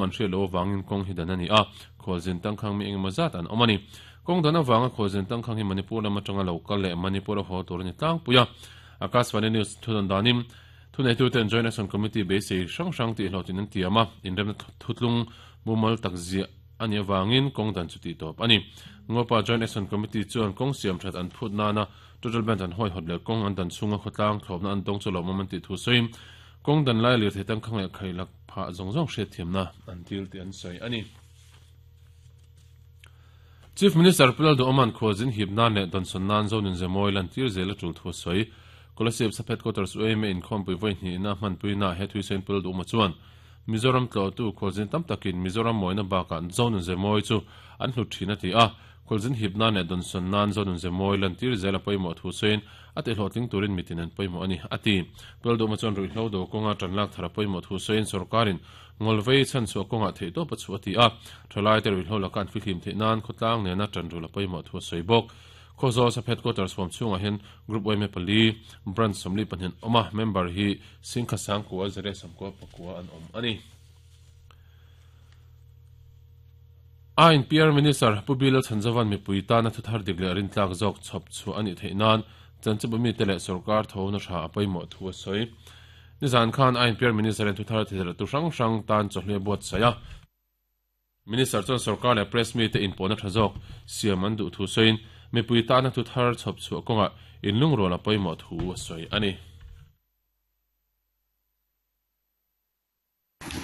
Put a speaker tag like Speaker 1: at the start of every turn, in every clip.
Speaker 1: an hriat loh avangin kawng hi dan a ni a, khualzin tangkhang mi engemaw zat an awm a ni. Kawng dan avanga khualzin tangkhang hi Manipur lam atanga lo kal leh Manipur a haw tur a ni tlangpui a. Akashvani News thudawn danin thuneituten Joint Action Committee beisei hrang hrang tih hlawhtlin an tiam a, inremna thutlung mumal tak ziah a nih avangin kawng dan chu tih tawp a ni. Ngopa Joint Action Committee chuan kawng siam that an phut nana total band an hawihawt leh kawng an dan chhunga khawtlang thlawpna an dawng chu lawmawm an tih thu sawiin kawng dan lai lirthei tangkhang leh khailak phah zawng zawng hriatthiamna an dil tih an sawi a ni. Chief Minister Pu Lalduhawma'n khualzin hip nan leh dawnsawn nan Zonin Zemawi lantir zel a tul thu a sawi. Kolasib Sap Headquarters UAMA inkhawmpui vawi hnihna hmanpuina he thuisain Pu Lalduhawma chuan Mizoram tlawhtu khualzin tam takin Mizoram mawina bakah Zonun Zemawi chu an hlut thin a ti a. Khualzin hip nan leh dawnsawn nan Zonun Zemawi lantir zel a pawimawh thu sawiin a tihlawhtling turin mitin an pawimawh a ni, a ti. Pu Lalduhawma chuan ruihhlo do kawnga tanlak thar a pawimawh thu sawiin sorkarin Ngawlvei chhanchhuah kawngah theihtawp a chhuah a ti a, thalaite ruihhlo laka an fihlim theih nan khawtlang nena tanrul a pawimawh thu a sawi bawk. Khawzawl Sap Headquarters huam chhungah hian Group yma pali, Branch 42 an awm a, member hi Singkha Sangkua, Zere Samkua pakua an awm a ni. A inPR Minister Pu Bill Chhanzovan mipui tana thuthar dik leh rintlak zawk chhawp chhuah a nih theih nan chanchinbu mite leh sorkar thona tha a pawimawh thu a sawi. Nizan khan a inPR Minister in thuthar thilhelh tu hrang hrang tan chawhnu a buatsaih a. Minister chuan sorkar leh press mite inpawhna tha zawk siam an duh thu sawiin mipui tana thuthar chhawp chhuah kawngah inlungrual a pawimawh thu a sawi a ni.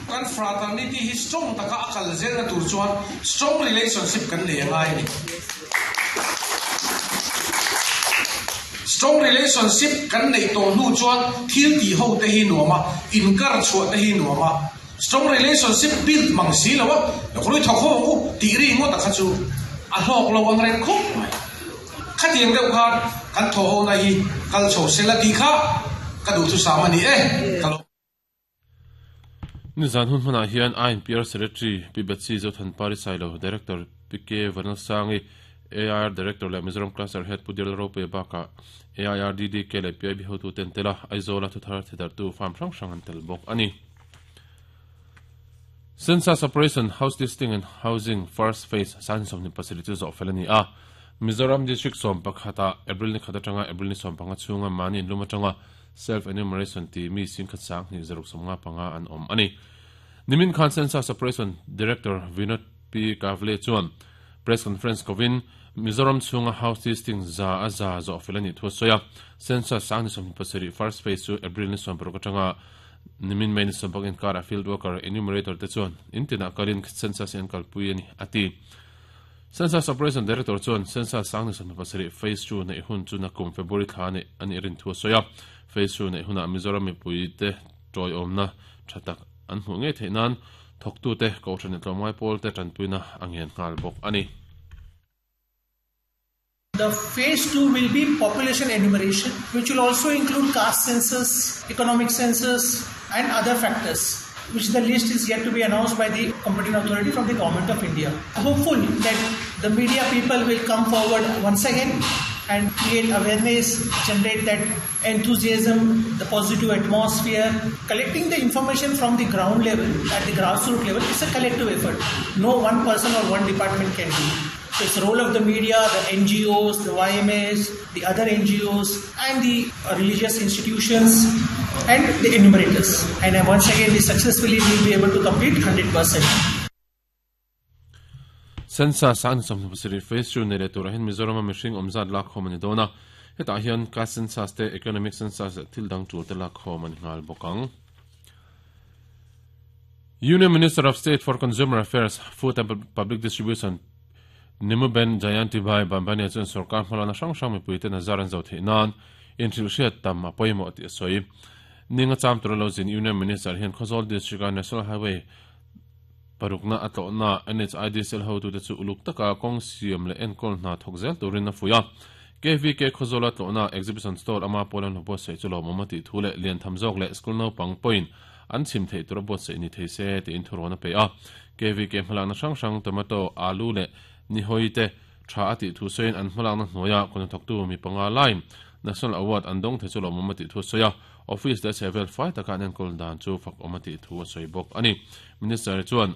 Speaker 2: Kan fraternity hi strong taka a kal zelna tur chuan strong relationship kan nei a ngai a ni. Strong relationship kan neih tawh hnu chuan thil tih ho te hi nuam a, inkar chhuah te hi nuam a. Strong relationship build mang si lo a, Rui thawk ho ang u tih ri ngawt a kha chu a hlawk lo ang reng khawp mai. Khatiang deuh khan kan thawh ho na hi kal chho sela tih kha ka duhthusam a ni e. Ka lo.
Speaker 1: Nizan hun hmanah hian INPR Secretary Pi Betsy Zothanpari Sailo, Director Pi K Vanlalsangi, AIR Director leh Mizoram Cluster Head Pu Dial Ropuia bakah AIRDDK leh PIB hotute an tel a, Aizawla thuthar thedartu farm hrang hrang an tel bawk a ni. Census Operation House Listing and Housing First Phase 27 chu zawh fel a ni a, Mizoram District 11 ah April ni khat atanga April ni 15 chhunga mahni inlum atanga Self Enumeration tih mi singkhat sang hnih zaruk 55 an awm a ni. Nimin khan Census Operation Director Vinod P. Kavle chuan Press Conference kovin Mizoram chhunga House Listing 100% zawh fel a nih thu a sawi a. Census sang ni 27 First Phase chu April ni 16 atanga nimin May ni 16 inkarah Field Worker Enumerator te chuan in tinah kalin Census hi an kalpui a ni, a ti. Census Operation Director chuan Census sang ni 27 Phase 2 neih hun chu nakum February thla neih a nih rin thu a sawi a. Phase 2 neih hunah Mizoram mipuite tawiawmna tha tak an hmuh ngei theih nan thawktute, kohhran leh tlawmngai pawlte tanpuina a ngen nghal bawk a ni.
Speaker 3: The phase 2 will be population enumeration which will also include caste census, economic census and other factors which the list is yet to be announced by the competent authority from the government of India. Hopeful that the media people will come forward once again and create awareness, generate that enthusiasm, the positive atmosphere. Collecting the information from the ground level, at the grassroots level, is a collective effort. No one person or one department can do. So it's the role of the media, the NGOs, the YMAs, the other NGOs and the religious institutions and the enumerators. And once again, we successfully will be able to complete 100%.
Speaker 1: Census a 27 Phase 2 nei leh turah hian Mizorama mihring awm zat lakkhawm a ni dawn a, hetah hian caste census te, economic census leh thil dang tul te lakkhawm a ni nghal bawk ang. Union Minister of State for Consumer Affairs, Food and Public Distribution Nimuben Jayantibhai Bambania chuan sorkar hmalakna hrang hrang mipuite nazar an zo theih nan inhrilhhriat tam a pawimawh tih a sawi. Ninga cham tura lo zin Union Minister hian Khawzawl District-a National Highway parukna a tlawhna NHIDCL hotute chu uluk taka kawng siam leh enkawl hna thawk zel turin a fuih a. KVK Khawzawla tlawhna Exhibition Stall ama pawl an hmu buatsaih chu lawmawm a tih thu leh liantham zawk leh school naupang pawhin an chhim theih tura buatsaih ni thei se tiin thurawn a pe a. KVK hmalakna hrang hrang tomato, alu leh nihawi te tha a tih thu sawiin an hmalakna hnuaia kawhnathawktu mi panga laiin National Award an dawng thei chu lawmawm a tih thu a sawi a. Office leh chhehvel fai taka an enkawl dan chu fakawm a tih thu a sawi bawk a ni. Minister chuan.